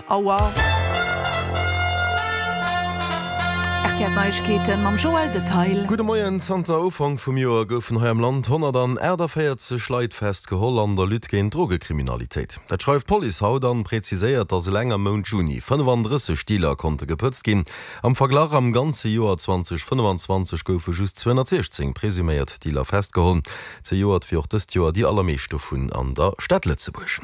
Auer. RTL Neiegkeeten mam Joël Detail. Gudde Moien, Zanter Ufank vum Joer goufen hei am Land 148 Leit festgeholl an der Lutte géint d'Drogekriminalitéit. Dat schreift d'Police haut an präziséiert, datt eleng am Mount Juni 35 Dealer konnte gepëtzt ginn. Am Verglach, am ganze Joer 2025 goufe just 216 presuméiert Dealer festgeholl. Zejoert wéi och dëst Joer déi allermeescht dovun an der Stad Lëtzebuerg.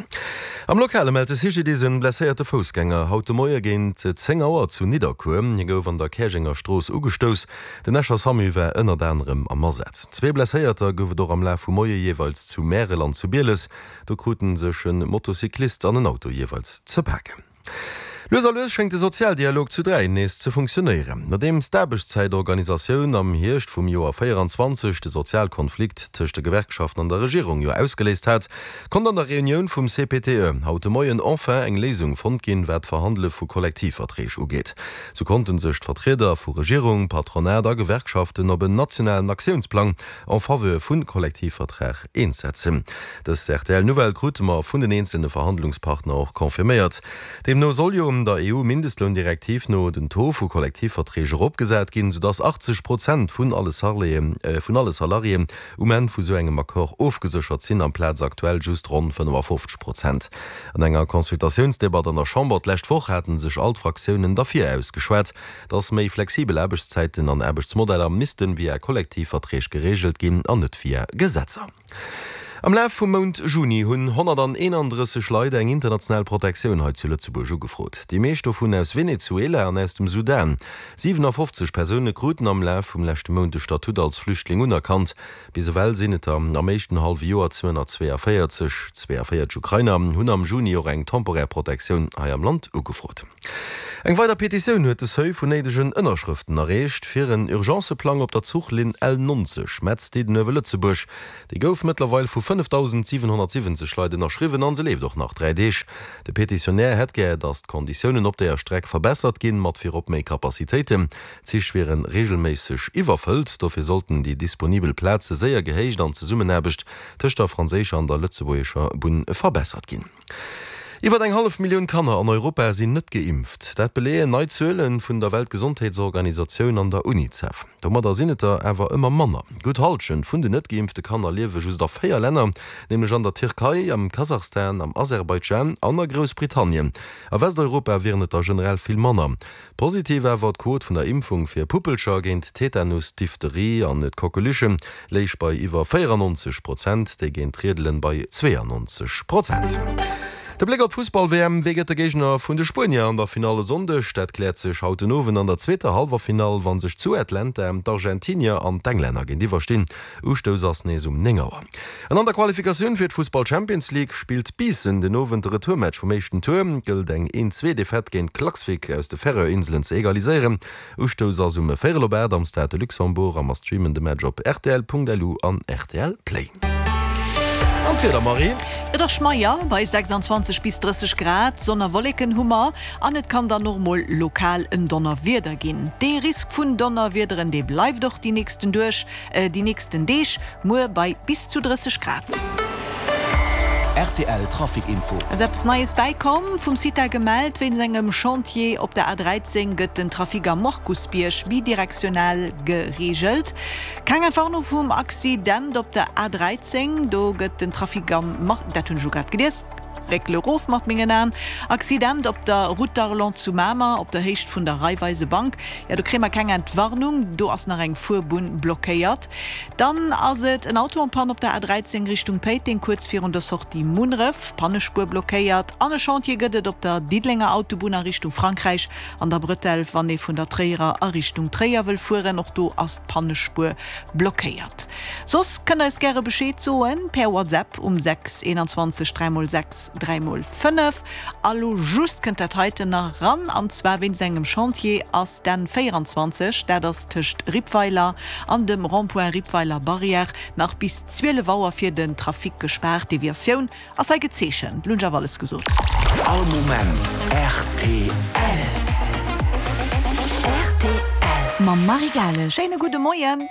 Am Lokale mellt de CGDIS en blesséierte Foussgänger haut de Moie géint 10 Auer zu Nidderkuer. Hie gouf an der Käerjenger Strooss ugestouss. Den Escher Samu war ënnert anerem am Asaz. Zwee Blesséierter gouf et och am Laf vum Moie jeeweils zu Märel an zu Bieles. Do krute sech e Motocyclist an en Auto jeeweils ze paken. Lues a lues schéngt de Sozialdialog zu 3 nees ze funktionéieren. Nodeems d'Aarbechtszäitorganisatioun am Hierscht vum Joer 24 de Sozialkonflikt tëscht de Gewerkschaften an der Regierung jo ausgeléist hat, konnt an der Reunioun vum CPTE haut de Moien enfin eng Léisung fonnt ginn, wat d'Verhandele vu Kollektivverträg ugeet. Sou konnte sech d'Vertrieder vu Regierung, Patronat a Gewerkschaften op en nationalen Aktiounsplang en faveur vu Kollektivvertrag eens setzen. Dës RTL-Nouvelle krute mer vun den eenzelne Verhandlungspartner och confirméiert. Deemno soll jo der EU-Mindestloundirektiv no den Taux vu Kollektivverträg eropgesat ginn, soudass 80 Prozent vun alle vun alle Salariéen um Enn vu sou engem Accord ofgeséchert sinn, amplaz aktuell just ronn 55 Prozent. An enger Consultatiounsdebatt an der Chamber d'lescht Woch hate sech all d'Fraktiounen derfir ausgeschwat, dass méi flexibel Aarbechtszäiten an Aarbechtsmodeller missten via Kollektivverträg gereegelt ginn an net via Gesetzer. Am Laf vum Mount Juni hunn 131 Leit eng international Protektioun hei zu Lëtzebuerg ugefrot. Déi meescht dovun aus Venezuela an aus dem Sudan. 57 Persoune kruten am Laf vum leschte Mount de Statut als Flüchtling unerkannt. Bis ewell sinn et der am éischten hallwe Joer 242. 42 Ukrainer hunn am Juni och eng temporär Protektioun hei am Land ugefrot. Eng weider Petitioun huet de Seuil vun néidegen Ënnerschrëften erreecht fir en Urgenceplang op der Zuchlinn L 90 Metz-Diddenuewe-Lëtzebuerg. Déi gouf mëttlerweil vu 5.770 Leit ënnerschriwwen an se leeft och nach 3 Deeg. De Petitionär hätt gär, datt d'Konditiounen op deeër Streck verbessert ginn, mat virop méi Capacitéiten. D'Zich wiere reegelméisseg iwwerfëllt, dofir sollten déi disponibel Plaze séier gehéicht an d'Zesummenaarbecht tëscht der franséischer an der lëtzebuergescher Bunn verbessert ginn. Iwwer eng hallef Millioun Kanner an Europa sinn net geimpft. Dat beleeën nei Zuele vun der Weltgesondheetsorganisatioun an der Unicef. Domadder sinn et der awer ëmmer manner. Gutt Hallschent vun den net geimpfte Kanner liewe just a 4 Länner, nämlech an der Tierkei, am Kasachstan, am Aserbaidschan an a Groussbritannien. A Westeuropa wieren et der generell vill manner. Positiv awer, d'Quot vun der Impfung fir Puppelcher géint Tetanus, Diphtherie an d'Coqueluche léich bei iwwer 94 Prozent, déi géint d'Riedelen bei 92 Prozent. De Bléck op d'Fussball-WM, Wee gëtt de Géigner vun de Spuenier an der Finall e Sonndeg? Dat kläert sech haut den Owend an der zweeter Hallwerfinall, wa sech zu Atlanta d'Argentinier an d'Englänner géintiwwer stinn. Ustouss ass nees um 9 Auer. An an der Qualifikatioun fir d'Fussball-Champions League spillt Biissen den Owend de Retourmatch vum éischten Tour. Gëllt eng 1-Zwee-Defaite géint Klaksvik aus de Färöer-Inselen ze egaliséieren. Ustouss ass um véierel op 8 am Stade de Luxembourg a mer streamen de Match op rtl.lu an rtl Play. An d'Wieder, Marie? Et ass schmeier bei 26 bis 30 Grad, Sonn a Wolleken hu mer an et kann dann och mol lokal en Donnerwieder ginn. Dee Risk vun Donnerwiederen, dee bleift och déi nächsten duerch. Déi nächsten Deeg, muer bei bis zu 30 Grad. Rtl Trafic Info. Ass eppes Neies bäikomm? Vum CITA gemellt, Wéinst engem Chantier op der A13 gëtt den Trafic am Markusbierg bidirektional gereegelt. Keng Entwarnung vum Accident op der A13, do gëtt den Trafic am Mar. Dat hunn ech elo grad gelies. Réckele rof mat mengen Aen. Accident op der Route d'Arlon zu Mamer, op der Héicht vun der Raiffeisebank. Jo, do kréie mer keng Entwarnung, do ass nach eng Fuerbunn blockéiert. Dann ass et en Auto en panne op der A13 Richtung Péiteng, kuerz virun der Sortie Munneref, Pannespuer blockéiert. An e Chantier gëtt et op der Diddelenger Autobunn a Richtung Frankräich an der Bretelle, wann ee vun der Tréierer a Richtung Tréier wëll fueren. Och do ass d'Pannespuer blockéiert. Soss kënnt eis gäre Bescheed soen per WhatsApp um 6 21 3 x 6 3 x 5. A lo just kënnt dat heiten nach ran, an zwar wéinst engem Chantier ass d'N 24, dat ass tëscht Rippweiler an dem Rond-point Rippweiler Barrière, nach bis 12 Auer fir den Trafic gespaart. Deviatioun ass hei gezeechent. Lo hunn ech awer alles gesot. All Moment rtl. Rtl. Mam Marie Gales. Schéine gudde Moien.